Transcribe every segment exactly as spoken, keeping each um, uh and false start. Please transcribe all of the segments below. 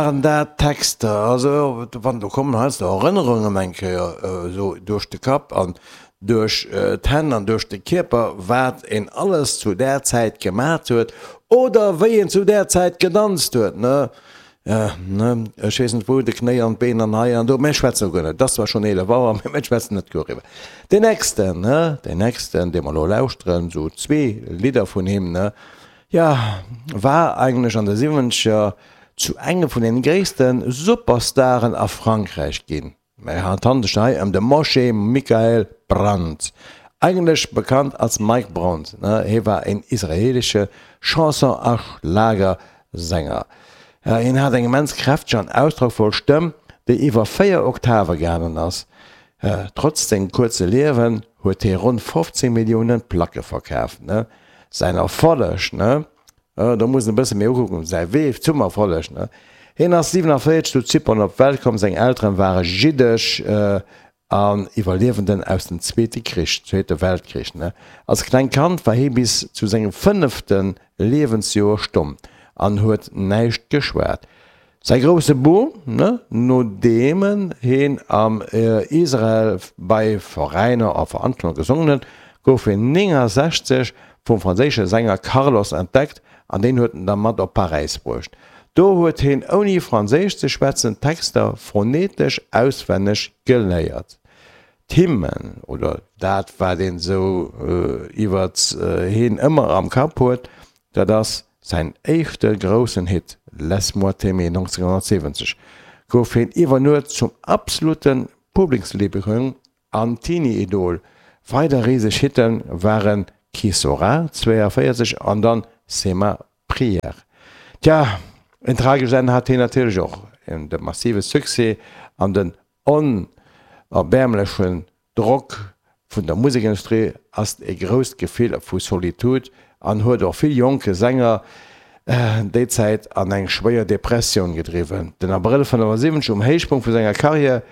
Waren dat Texter, also wann do kommen heiansdo Erënnerungen eng Kéier esou duerch de Kapp an duerch d'Hänn an duerch de Kierper, wat een alles zu där Zäit gemat huet oder wéi een zu där Zäit gedanzt huet, ne? Ne, ech weess net wou, de Knéi an d'Been an hei an do, mä ech schwätzen elo guer net, et ass zwar schonn eelef Auer, mä ech schwätzen net doriwwer. Deen nächsten, ne, deen nächsten, dee mer elo lauschteren, esou zwee Lidder vun him, ne, jo, war eigentlech an de Siwwenzeger zu engem vun den gréisste Superstaren a Frankräich ginn. Mä et handelt sech hei ëm de Moshe Michael Brand, eigentlech bekannt als Mike Brand. Hie war een israeelesche Chanson a Schlagersänger. Hien hat eng immens kräfteg an ausdrockvoll Stëmm, déi iwwer véier Oktave gaangen ass. Trotz sengem kuerze Liewen huet hie ronn fofzéng Millioune Placke verkaaft. Säin Erfolleg Do muss en e bësse méi ukucken, säi Wee zum Erfolleg, ne? Hien ass siwenavéierzeg zu Zypern op d'Welt komm, seng Elteren ware jiddesch an Iwwerliewenden aus dem Zweete Krich, Zweete Weltkrich, ne? Als klengt Kand war hie bis zu sengem fënnefte Liewensjoer stomm an huet näischt geschwat. Säi grousse Boom, nodeem hien am Israel bei Veräiner a Veranstaltunge gesongen huet, gouf hien néngensechzeg vum franséische Sänger Carlos entdeckt an deen huet en da mat op Paräis bruecht. Do huet hien ouni Franséisch ze schwätzen d'Texter phonetesch auswenneg geléiert. D'Hymnen, oder dat wat een esou iwwert hien ëmmer am Kapp huet, dat ass säin éischte groussen Hit Laisse-moi t'aimer nonzénghonnertsiwwenzeg, gouf hien iwwer Nuet zum absolute Publiksliebling an Teenie-Idol. Weider riseg Hitte waren Qui sera zwéianvéierzeg an dann C'est ma prière. Tja, en tragescht Enn hat hien natierlech och. De massive Succès an den onerbäermlechen Drock vun der Musekindustrie ass e grousst Gefill vu Solitude an huet och vill jonke Sänger déi Zäit an eng schwéier Depressioun gedriwwen. Den Abrëll fënnefasiwwenzeg, um Héichpunkt vu senger Karriär,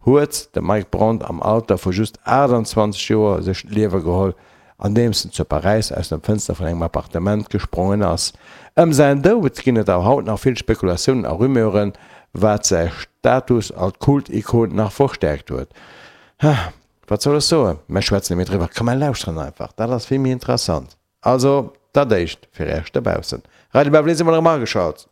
huet de Mike Brand am Alter vu just aachtanzwanzeg Joer sech d'Liewe geholl, andeems en zu Paräis aus dem Fënster vun engem Appartement gesprongen ass. Ëm säin Doud ginn et awer haut nach vill Spekulatiounen a Rumeuren, wat säi Status als Kult-Ikon nach verstäerkt huet. Wat soll ech soen? Mer schwätzen net méi driwwer. Komm mer lauschteren einfach, dat ass vill méi interessant. Also, dat éischt fir Iech dobaussen. Radio Beverly si mol erëm ageschalt.